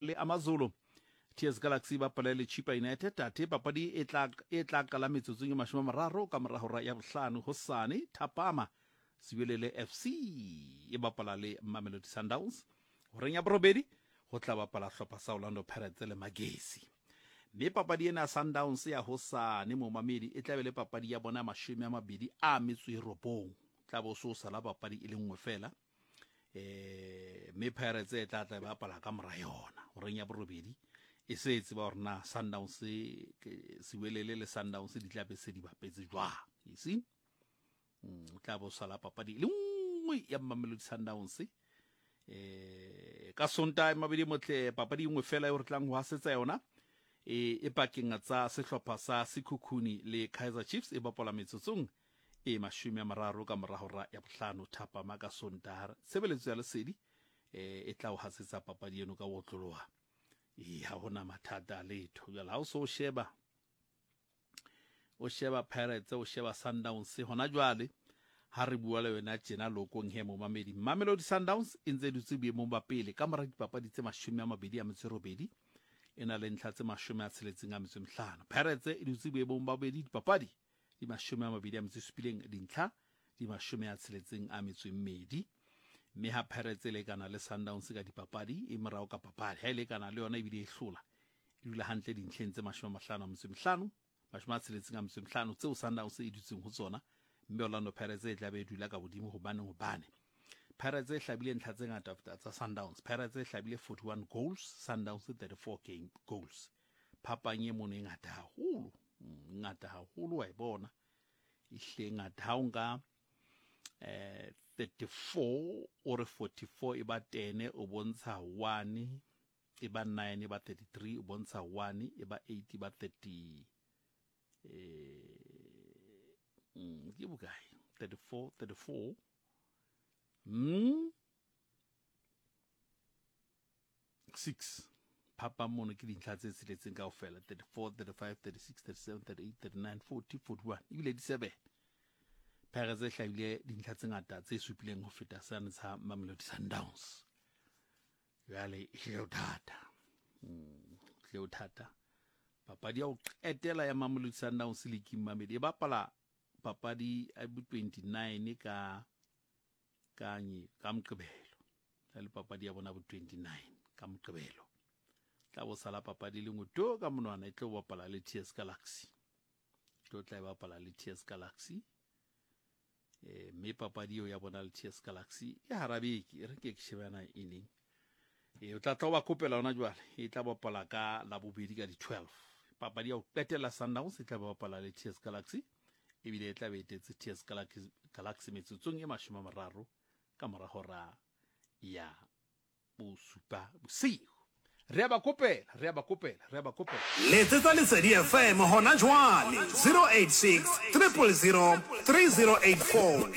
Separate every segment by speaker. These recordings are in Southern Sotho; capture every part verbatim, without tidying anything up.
Speaker 1: Le AmaZulu. T S Galaxy ba bapala le Chippa United. Athe papadi e tla e tla qala metsotsong e mashome a mararo ka mora hora ya bohlano hosane thapama. Siwelele F C e bapala le Mamelodi Sundowns. Horeng ya borobedi ho tla bapala hlopha sa Orlando Pirates le Magesi. Mme papadi ena Sundowns ya hosane momamedi e tla be le papadi ya bona mashome a mabedi a metso e robong. Tla bo so sala papadi e le nngwe fela. Eh mme Pirates e tla tla bapala ka mora yona horeng ya borobedi. E se e tseba hore na Sundowns Siwelele le Sundowns di tla be se di bapetse jwang. You see? Mm, tla bo sala papadi le nngwe ya Mamelodi Sundowns. Eh ka Sontaha mabedi motle papadi nngwe fela e re tlang ho hasetsa yona e e pakeng tsa sehlopha sa Sekhukhuni le Kaizer Chiefs e bapala metsotsong e mashome a mararo ka mora hora ya bohlano thapama ka Sontaha. Tshebeletso ya Lesedi e tla ho hasetsa papadi eno ka otloloha. E ha hona mathata letho. Jwale ha o so sheba o sheba Pirates o sheba Sundowns hona jwale ha re bua le wena tjena lokong he momamedi. Mamelodi Sundowns e ntse dutse boemong ba pele ka mora dipapadi tse mashome a mabedi a metso e robedi e na le ntlha tse mashome a tsheletseng a metso e mehlano. Pirates e dutse boemong ba bobedi dipapadi di mashome a mabedi a metso e supileng dintlha di mashome a tsheletseng a metso e mmedi. Mme ha Pirates e lekana le Sundowns ka dipapadi e morao ka papadi ha e lekana le yona ebile e hlola e dula hantle dintlheng tse mashome a mahlano a metso e mehlano mashome a tsheletseng a metso e mehlano tseo Sundowns e dutseng ho tsona. Mme Orlando Pirates e tla be e dula ka hodimo hobane hobane Pirates e hlabile ntlha tse ngata tsa Sundowns. Pirates e hlabile forty-one goals, Sundowns thirty-four game goals. Phapang e mono e ngata haholo, ngata haholo wa e bona. E hle ngata ha o nka eh thirty-four or forty-four e ba ten o bontsha one, e ba nine e ba thirty-three o bontsha one, e ba eight e ba thirty eh mm, ke bokae? thirty-four, thirty-four. Mm. six. Phapang mono ke dintlha tse tsheletseng kaofela. thirty-four, thirty-five, thirty-six, thirty-seven, thirty-eight, thirty-nine, forty, forty-one. Ebile di seven. Pirates e hlabile dintlha tse ngata tse supileng ho feta sane sa Mamelodi Sundowns. Jwale e hlile ho thata. Mm, hlile ho thata. Papadi ya ho qetela ya Mamelodi Sundowns league mamedi e bapala papadi ya bo twenty-nine ka kanye ka Moqebelo. Le papadi ya bona bo twenty-nine ka Moqebelo. Tla bo sala papadi le nngwe to ka monwana e tlo bapala le T S Galaxy. Tlo tla e bapala le T S Galaxy. Eh mme papadi eo ya bona le T S Galaxy e hara beke e re ke ke shebana e neng. Eh o tla tla ba kopela hona jwale e tla bapala ka Labobedi ka di twelve. Papadi ya ho qetela Sundowns e tla bapala le T S Galaxy. Ebile e tla be e tetse T S Galaxy Galaxy metsotsong e mashome a mararo ka mora hora ya bosupa bosiu. Re a ba kopela, re a ba kopela, re a ba kopela.
Speaker 2: Letsetsa Lesedi F M hona jwale zero eight six, triple zero, three zero eight four.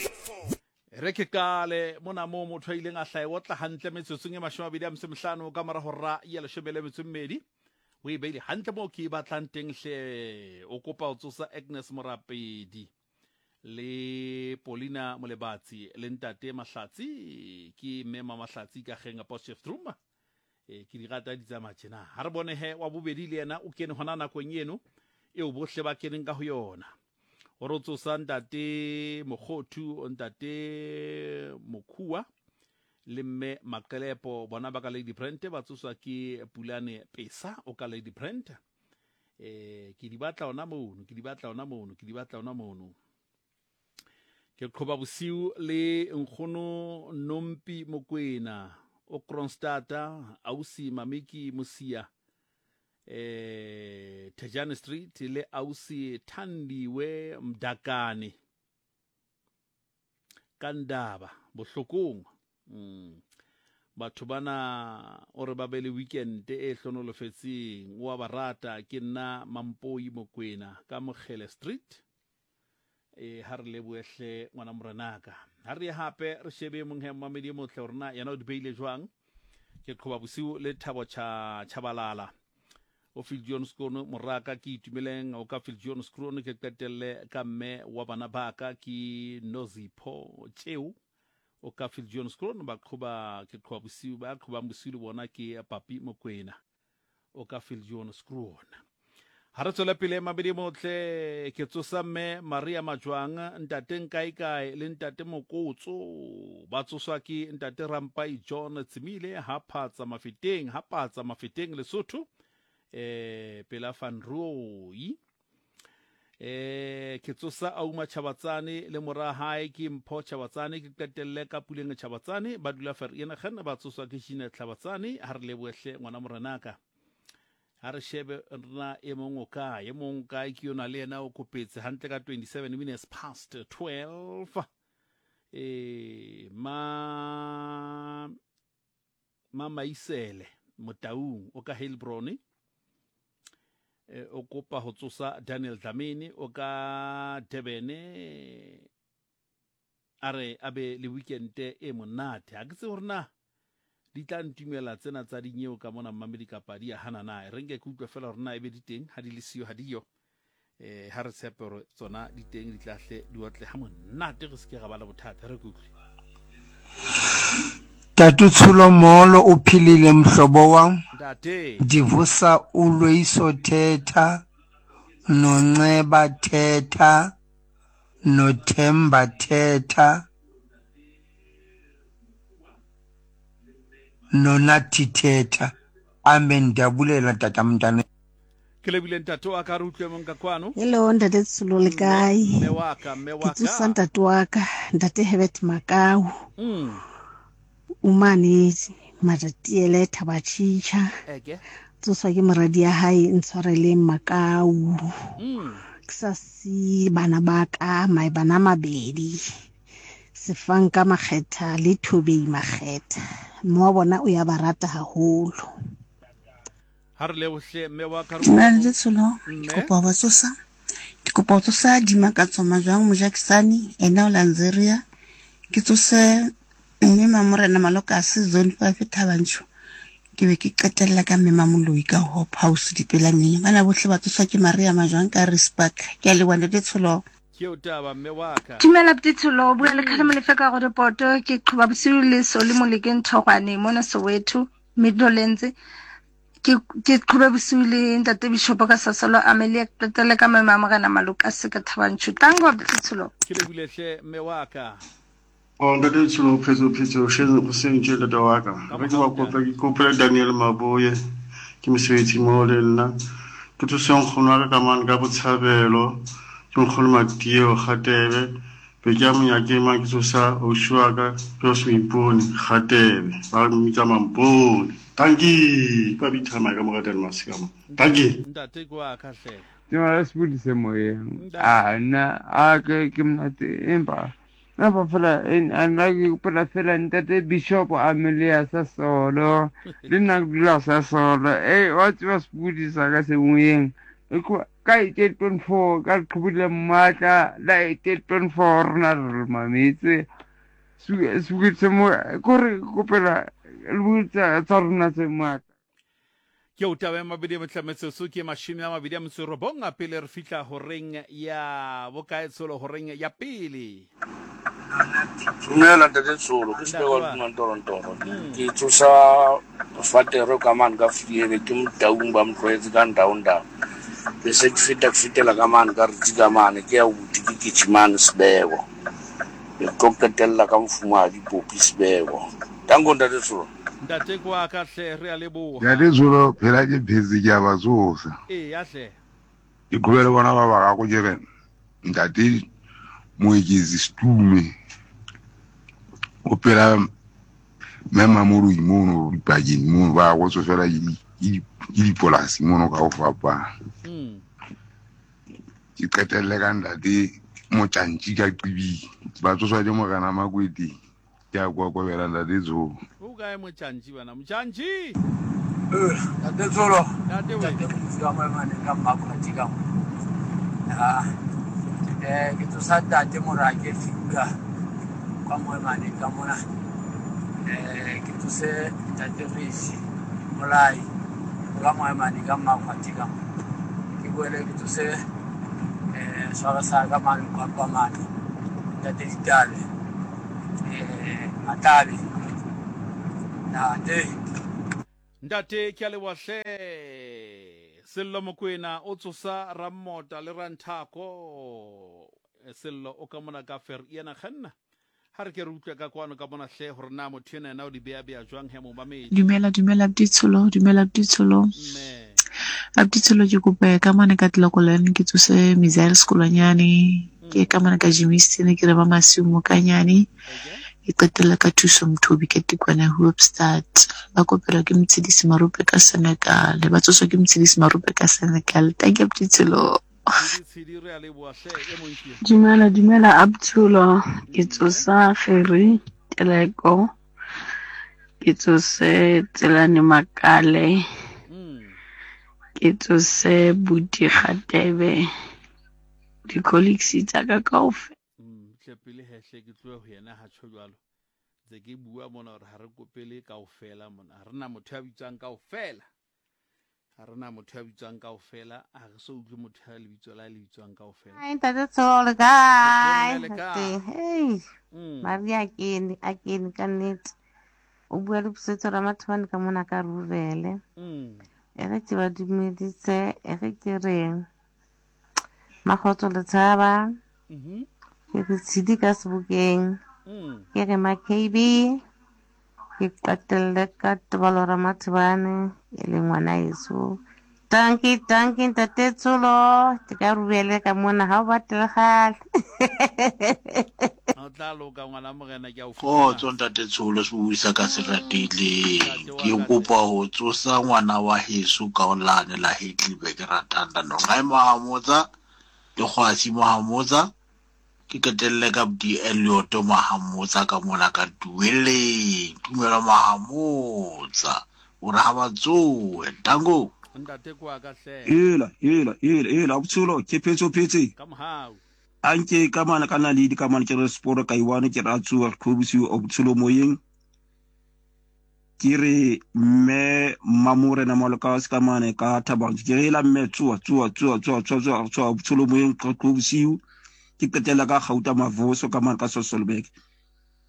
Speaker 1: Re ke qale mona moo motho a ileng a hlaha o tla hantle metsotsong e mashome a mabedi a metso e mehlano ka mora hora ya leshome le metso e mmedi. O e beile hantle moo ke e batlang teng hle. O kopa ho tsosa Agnes Morapedi le Paulina Molebatsi le ntate Mahlatsi ke mme Mahlatsi ka kgeng Potchefstroom. E ke di rata di tsamaya tjena. Ha re bone he wa bobedi le yena o kene hona nakong eno eo bohle ba keneng ka ho yona. O re tsosa ntate Mokgothu, ntate Mokhua le mme Maqelepo bona ba ka Lady Brent ba tsoswa ke Pulane Pesa o ka Lady Brent. Eh ke di batla ona mono, ke di batla ona mono, ke di batla ona mono. Ke qhoba bosiu le nkgono Nompi Mokwena o Kronstadta ausi Mamiki Mosia eh Tejane Street le ausi Thandiwe Mdakane Kandaba bohlokong. Mm. Batho bana o re ba be le weekend e hlonolofetseng o a ba rata ke nna Mampoi Mokwena ka Mokgele Street. E ha re leboehle ngwana morenaka. Ha re hape re shebe mong he mamedi e motle hore na yena o di beile jwang. Ke qhoba bosiu le Thabo Cha Chabalala o Phil Jones Krono moraka ke itumeleng o ka Phil Jones Krono ke qetelle ka mme wa bana baka ke Nozipho Tsheu O ka Viljoenskroon ba qhoba ke qhoba bosiu ba qhobang bosiu le bona ke Papi Mokwena o ka Viljoenskroon. Ha re tswela pele mabedi motle ke tsosa mme Maria Majwang ntate Nkaekae le ntate Mokotso ba tsoswa ke ntate Rampai John Tsimile ha phatsa mafeteng ha patsa mafeteng Lesotho eh pela Van Rooy. Eh ke tsosa Auma Chabatsane le mora hae ke Mpho Chabatsane ke qetelle ka Puleng Chabatsane ba dula Vereeniging ba tsoswa ke Gina Chabatsane ha re lebohle ngwana morenaka. Ha re shebe rena e mong o kae e mong kae ke yona le yena o kopetse hantle ka twenty-seven minutes past twelve. Eh ma ma Maisele Motaung o ka Heilbron e o kopa ho tsosa Daniel Dlamini o ka Durban a re abe le weekend e monate. Ha ke tsebe hore na di tla ntumela tsena tsa dinyeo ka mona mmamedi kapa di a hana na. Re nke ke utlwe fela hore na ebe di teng ha di le siyo ha di yo. Eh ha re tshepe hore tsona di teng di tla hle di otle ha monate re se ke ra ba le bothata re kutlwe.
Speaker 3: Tatu Tsholo molo o philile mhlobo wam.
Speaker 1: Ntate.
Speaker 3: Ndivusa uLoyiso Thetha noNceba Thetha noThemba Thetha noNathi Thetha. Amen. Ndiyabulela tata mntana.
Speaker 1: Ke lebile ntate wa ka re utlwe mong ka kwano.
Speaker 4: Hello ntate Tsholo le kae?
Speaker 1: Mme wa ka, mme wa
Speaker 4: Ke tsosa
Speaker 1: ka.
Speaker 4: ntate wa ka, ntate Herbert Makau.
Speaker 1: Mm.
Speaker 4: Umane Matatiele Thabachicha.
Speaker 1: Eke.
Speaker 4: Tsoswa ke moradi ya hae Ntshwareleng Makau.
Speaker 1: Mm.
Speaker 4: Ke sa si bana ba ka, mae bana mabedi. Sefanka Makgetha le Thobei Makgetha. Mme wa bona o ya ba rata haholo.
Speaker 1: Ha re lebohle mme wa ka re
Speaker 5: Dumela
Speaker 1: utlwe.
Speaker 5: ntate Tsholo, ke
Speaker 1: Mme.
Speaker 5: kopa ho ba tsosa. Ke kopa ho tsosa Dimakatso Majwang Mojakisane, ena o Lanzeria. Ke tsose mme Mamorena Malokase Zone five Thabanchu. Ke be ke qetella ka mme Mamoloi ka Hope House Dipelaneng. Bana bohle ba tsoswa ke Maria Majwang ka Rispark. Ke a leboha ntate Tsholo.
Speaker 1: Ke o taba mme wa ka.
Speaker 6: Dumela Buti Tsholo, o bua le Kgalemo Lefe ka Roodepoort. Ke qhoba bosiu le Soli Molekeng Thogwane mona Soweto, Midlands. Ke ke qhobe bosiu le ntate Bishop ka Sasolo Amelia, ke qetelle ka mme Mamorena Malokase ka Thabanchu. Tango Buti Tsholo.
Speaker 1: Ke lebile hle mme wa ka.
Speaker 7: Oh, ntate Tsholo, phetso phetso sheng o seng tje ntate wa ka.
Speaker 1: Ka
Speaker 7: Re ke ba
Speaker 1: mohau
Speaker 7: kopa ke kopela Daniel Maboye ke mosebetsi mo le nna. Ke thuse nkgono wa ka ka mane ka Botshabelo. Ke nkgono Matieo Kgatebe. Be ke ya monyakeng mang ke tsosa ausi wa ka ke o se Moipone Kgatebe. Ba mmitsa Mampone. Tanki, ba bitsa ka mo ratela masika mo. Tanki.
Speaker 1: Ntate ke wa ka hle.
Speaker 8: Dumela Sebodi se moyeng.
Speaker 1: Ntate.
Speaker 8: Ah nna a ke ke monate empa empa fela a nna ke gopola fela ntate Bishop Amelia Sasolo le nna ke dula Sasolo. Eh wa tseba Sebodi sa ka se moyeng. Ka eight point four ka leqhubu le matla la eight point four rona re mametse. Sebodi se mo kore kopela le tsa tsa rona tse matla.
Speaker 1: Ke o taba ya mabedi a motlametsotso ke mashome a mabedi a metso e robong a pele re fihla horeng ya bokae Tsholo horeng ya pele.
Speaker 9: Dumela ntate Tsholo, ke
Speaker 1: Ntate
Speaker 9: Sebeko
Speaker 1: wa.
Speaker 9: Mantorontoro.
Speaker 1: Mm.
Speaker 9: Ke tsosa Fatere ka mane ka Vliewe ke Motaung ba mo tlwaetse ka Ndaundau. Be se ke feta ke fetela ka mane ka Ritsi ka mane ke ya Uti ke Kitjimane Sebeko. Ke tlo qetella ka Mofumahadi Popi Sebeko. Tanko ntate Tsholo.
Speaker 1: Ntate ke wa ka hle re a leboha.
Speaker 10: Ntate Tsholo phela ke phetse ke a ba tsosa.
Speaker 1: Ee ya hle.
Speaker 10: Ke qhobele bona ba bararo ke re ntate Moeketsi Setume o phela mme Mamoloi mono dipakeng mono ba go tsofela ke di- ke dipolasi mono ka ho fapana.
Speaker 1: Mm.
Speaker 10: Ke qetelle ka ntate Motjantji ka Qibing. Ba tsoswa ke Morena Makweteng. Ke a kokobela ntate Tsholo.
Speaker 1: O kae Motjantji bana? Motjantji!
Speaker 11: Eh, ntate Tsholo.
Speaker 1: Ntate we.
Speaker 11: Ntate Molefi ka Moemane ka Mmakgwati ka mo. Ah, eh, ke tsosa ntate Morake Finger kwa Moemane ka mona. Eh, ke tsose ntate Resi Molai ka Moemane ka Mmakgwati ka mo. Ke boele ke tsose eh swara sa ka mane kwa kwa mane. Ntate Ditale. Eh, Matabe. Ntate.
Speaker 1: Ntate ke a leboha hle. Sello Mokwena o tsosa Rammota le Ranthako. Sello o ka mona ka fer yena kganna. Ha re ke re utlwe ka kwano ka bona hle hore na motho ena yena o di beya beya jwang he momamedi.
Speaker 12: Dumela, dumela Abditsholo, dumela Abditsholo. Abditsholo ke kopa ka mane ka Tlokolane ke tsose Mizael Sekolwanyane, ke ka mane ka Germiston ke re ba Masiu Mokanyane. Ke qetella ka Thuso Mthobi ka Tikwana Hoopstad. Ba kopelwa ke Motshedisi Marupe ka Senegal, ba tsoswa ke Motshedisi Marupe ka Senegal. Thank you Abditsholo.
Speaker 13: Dumela, dumela Abditsholo. Ke tsosa Gerry Teleko, ke tsose Tselane Makale, ke tsose Buti Kgatebe, di-colleagues tsa ka kaofela.
Speaker 1: Tle pele hehle ke tlohe ho yena ha tjho jwalo. Ntse ke bua mona hore ha re kopele kaofela mona. Ha rena motho ya bitswang kaofela. Ha rena motho ya bitswang kaofela, ha re so utlwe motho ya lebitso la le bitswang kaofela.
Speaker 5: Hi, Ntate Tsholo, le kae?
Speaker 1: Le kae?
Speaker 5: Hey,
Speaker 1: Mm.
Speaker 5: Maria a kene, a kene ka nnete. O bua le Pusetso Ramathobane ka mona ka Rurele.
Speaker 1: Mm.
Speaker 5: E re ke ba dumedise, e re ke reng. Makgotso le tshaba.
Speaker 1: Mhm.
Speaker 5: Ke re tshidi ka sebokeng.
Speaker 1: Mm.
Speaker 5: Ke re ma K B. Ke qetelle ka Tebalo Ramathobane e leng ngwana heso. Dankie, dankie Ntate Tsholo. Ke ka Rurele ka mona ha o batle kgale.
Speaker 1: O tla loka ngwana morena ke a o
Speaker 14: Kgotso Ntate Tsholo, se buisa ka se ratileng. Ke kopa ho tsosa ngwana wa heso ka olane la Heidelberg ratanda no. Ngai Mahamotsa le Kgwasi Mahamotsa. Ke qetelle ka Budi Elliot Mahamotsa ka mona ka Dueleng. Tumelo Mahamotsa. O re ha ba tsohe. Tango.
Speaker 1: Ntate kwa ka hle.
Speaker 15: Hela, hela, hela, hela, Abditsholo, ke phetse o phetse.
Speaker 1: Ka mohau.
Speaker 15: Anke ka mane ka naledi ka mane ke re sporo ka iwane ke ra tsoha Kgobosiu Abditsholo moyeng. Ke re mme Mmamorena Malokase ka mane ka Thabang. Ke re la mme tsoha, tsoha, tsoha, tsoha, tsoha, tsoha, tsoha Abditsholo moyeng Kgobosiu. Ke qetella ka Gauta Mavoso ka mane ka Sasolburg.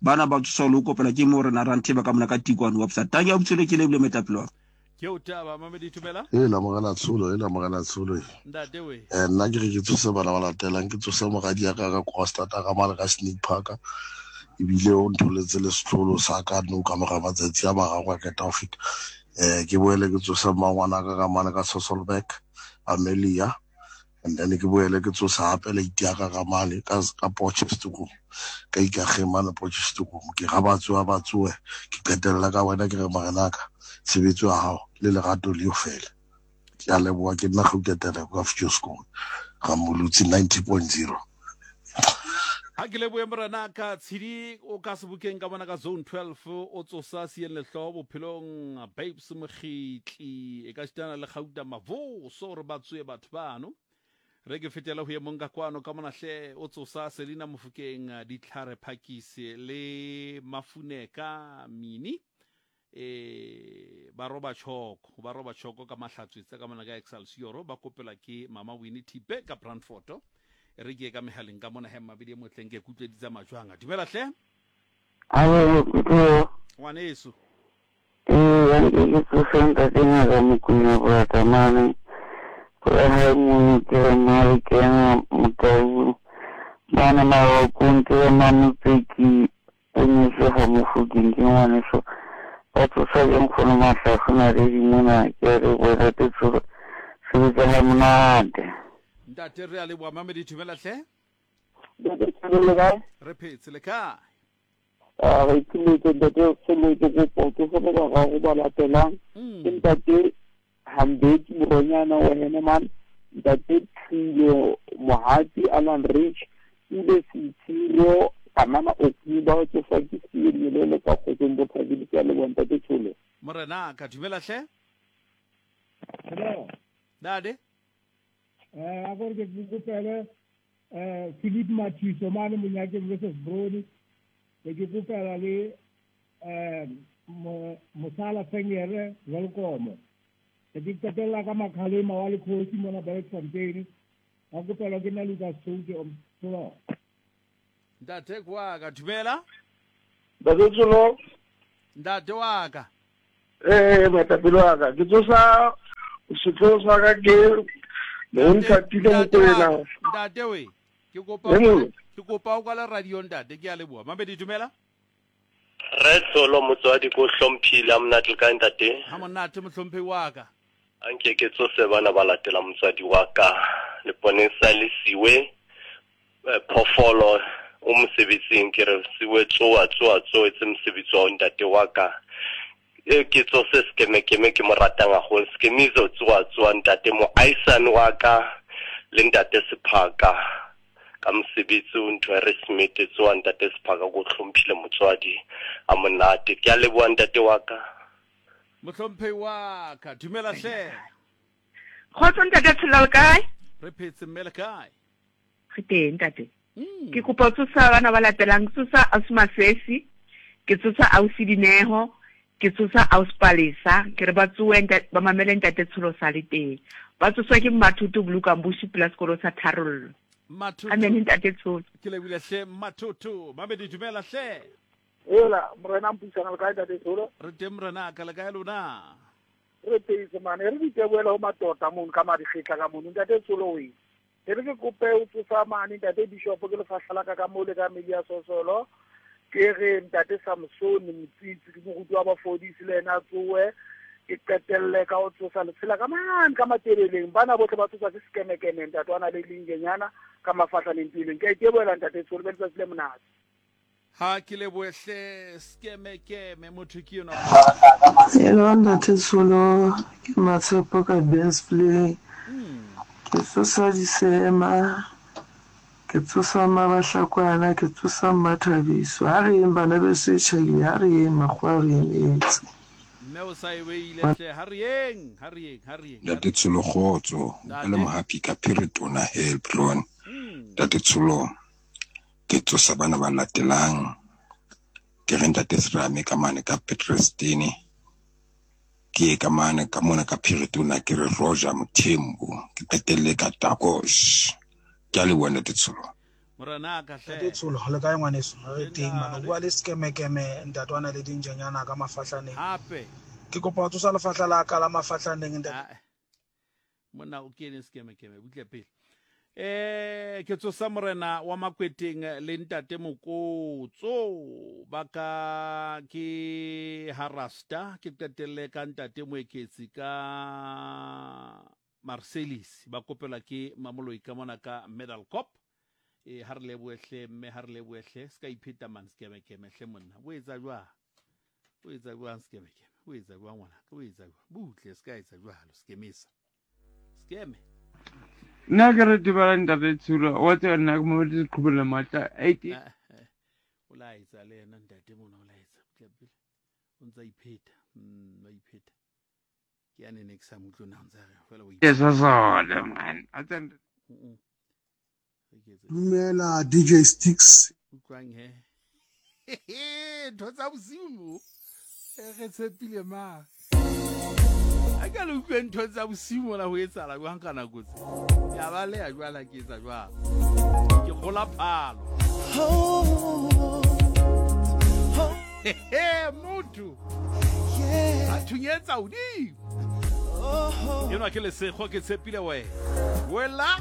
Speaker 15: Bana ba tsosa le ho kopela ke Morena Rantheba ka mona ka Tikwane website. Tanki Abditsholo ke lebile moetapele wa ka.
Speaker 1: Ke o taba Mamedi Thubela.
Speaker 16: E la morena Tsholo, e la morena Tsholo.
Speaker 1: Ntate we.
Speaker 16: Eh nna ke re ke tsose bana ba latelang, ke tsose moradi ya ka ka Kroonstad ka mane ka Snake Park. Ebile o ntholetse le setlolo sa ka nou ka mora matsatsi a mararo a qeta ho feta. Eh ke boele ke tsose mmangwana ka ka mane ka Sasolburg, Amelia. And then ke boele ke tsosa hape late ya ka ka mane ka ka Potchefstroom. Ka Ikageng mane Potchefstroom. Ke ga ba tsoha ba tsohe. Ke qetella ka wena ke re morenaka. Tshebetso ya hao le lerato le fela. Ke a leboha, ke nna Gauta Teleko ka Future School. Ramolutsi ninety point zero.
Speaker 1: Ha ke lebohe morena ka Tshidi o ka sebokeng ka bona ka zone twelve o tsosa sieng lehloho bophelong Babes Mokgitli e ka sitana le Gauta Mavoso hore ba tsoe batho bano. Re ke fetela ho ye mong ka kwano ka mona hle o tsosa Selina Mofokeng Ditlhare Phakisi le Mafuneka Mini. E ba roba tjhoko, ba roba tjhoko ka mahlatswitse ka mona ka Excelsior ba kopela ke Mama Winnie Thipe ka Brandfort. Re ke ka mehaleng ka mona he mabedi e motleng ke kutlweditsa majwang. Dumela hle.
Speaker 17: Alo, kutlwe.
Speaker 1: Ngwaneso.
Speaker 17: Eh, ke ke tsose ntate Ngaka Mokwena Boratamane. Go hae mono ke re mare ke ena Motau. Bana Marokong ke re Mamotseki o nyetswe ha Mofokeng ke ngwaneso. Ba tsosa ke nkgono Mahlahlo Naledi mona ke a leboha Ntate Tsholo. Sebetsa ha monate.
Speaker 1: Ntate re a leboha Mamedi Thubela hle.
Speaker 17: Ntate Tsholo le kae?
Speaker 1: Re phetse le kae?
Speaker 17: Ah, re itumetse Ntate Tsholo, ke kopa ke go ba bararo ba latelang. Ke Ntate Hambeki Moronyana wa Henneman, Ntate Thulo Mohati Alan Rich, Pule Sitiro Kanana Okuba tsoswa ke Sielele ka kgotsong bothabile ke a leboha Ntate Tsholo.
Speaker 1: Morena ka dumela hle.
Speaker 18: Hello.
Speaker 1: Ntate.
Speaker 18: Eh a gore ke kopele eh Philip Mathiso mane Monyakeng versus Brody. Ke ke kopela le eh Mosala Fengere welcome. Ke ke qetella ka Makhalema wa lekgosi mona Bergfontein. A kopela ke nna Lucas Souke o Tsholo.
Speaker 1: Ntate kwa ka dumela.
Speaker 19: Ntate Tsholo.
Speaker 1: Ntate wa ka.
Speaker 19: Eh, moetapele wa ka. Ke tsosa setloho sa ka ke Monthatile Mokoena.
Speaker 1: Ntate we, ke kopa ke kopa o kwala radio ntate, ke a leboha. Mabedi dumela.
Speaker 20: Re Tsholo motswadi ko hlomphile a monate le kae ntate?
Speaker 1: Ha monate mohlomphehi wa ka.
Speaker 20: Anke ke tsose bana ba latela motswadi wa ka. Leponesa le siwe phofolo o mosebetsing ke re siwe tsoa tsoa tsoa tse mosebetsi wa ntate wa ka. E ke tsose sekemekeme ke mo ratang haholo sekemiso tsoa tsoa ntate mo aisane wa ka le ntate Sephaka ka mosebetsi o ntho re smete tsoa ntate Sephaka go hlomphile motswadi a monate. Ke a leboha ntate wa ka.
Speaker 1: Mohlomphehi wa ka dumela hle.
Speaker 21: Kgotso ntate Tsholo le kae?
Speaker 1: Re phetse mme le kae?
Speaker 21: Re teng ntate. Ke kopa tsosa bana ba latelang, tsosa ausi Masesi, ke tsosa ausi Dineho, ke tsosa ausi Palesa, ke re ba tsoe ba mamele ntate Tsholo sa le teng. Ba tsoswa ke Mathuto Bulukambushi pela sekolo sa Tharollo.
Speaker 1: Mathuto.
Speaker 21: Amen ntate Tsholo.
Speaker 1: Ke lebile hle Mathuto. Mabedi dumela hle.
Speaker 19: Ela morena mpuisana le kae ntate Tsholo?
Speaker 1: Re teng morena ka le kae lona?
Speaker 19: Re teng mane re diteboela ho matota mono ka madikgetla ka mono ntate Tsholo we. E re ke kope o tsosa mane ntate Bishop ke lefahla la ka ka mo le ka Melia Sosolo. Ke re ntate Samson Motsitsi ke moruti wa bafodisi le ena tsoe. Ke qetelle ka ho tsosa letshela ka mane ka matebeleng bana bohle ba tsoswa ke sekemekeme ntate wa na le lingenyana ka mafahlaneng pileng. Ke a iteboela ntate Tsholo be letsatsi le monate.
Speaker 1: Ha ke lebohle sekemekeme motho ke yona.
Speaker 22: Hello ntate Tsholo, ke Matshepo ka Ben's Play. Ke tsosa disema, ke tsosa mabahlakwana, ke tsosa Mmathabiso. Ha re yeng bana beso e tjhaile, ha re yeng makgowa re emetse.
Speaker 1: Mme o sa e beile hle, ha re yeng, ha re yeng, ha re yeng.
Speaker 10: Ntate Tsholo kgotso, o le mohapi ka Phiritona Helpron. Ntate Tsholo, ke tsosa bana ba latelang. Ke re ntate Serame ka mane ka Petrostene. Ke ka mane ka mona ka Phiritona ke re Roger Mothembu. Ke qetelle ka Takosh. Ke a leboha ntate Tsholo.
Speaker 1: Morena ka hle.
Speaker 23: Ntate Tsholo le kae ngwaneso? Re teng mane. Bua le sekemekeme ntate wa na le dinjanyana ka mafahlaneng.
Speaker 1: Hape.
Speaker 23: Ke kopa ho tsosa lefahla la ka la mafahlaneng ntate.
Speaker 1: Monna o kene sekemekeme butle pele. Eh ke tsosa morena wa Makweteng le ntate Mokotso ba ka ke Harasta ke qetelle ka ntate Moeketsi ka Marcelis ba kopela ke Mamoloi ka mona ka Medal Cop. E ha re lebohle mme ha re lebohle se ka ipheta man sekemekeme hle monna o etsa jwang o etsa jwang sekemekeme o etsa jwang ngwana o etsa jwang butle se ka etsa jwalo sekemesa sekeme.
Speaker 8: Nna ke re dumela ntate Tsholo, wa tseba nna ke mo diqhobela matla eighty.
Speaker 1: O laetsa le yena ntate mona o laetsa butle pele o ntsa ipheta mm ba ipheta ke ya nene ke sa mutlo na ntsa re fela o
Speaker 8: ipheta sona man a tsena.
Speaker 16: Dumela D J Sticks.
Speaker 1: Utlwang he. Ntho tsa bosiu re tshepile ma. A ka le utlwe ntho tsa bosiu mona ho etsahala jwang ka nako tse. Ke a baleha jwale ke etsa jwang. Ke kgola phalo. Motho. A thunyetsa hodimo. Enwa ke lesego ke tshepile wena. Wela.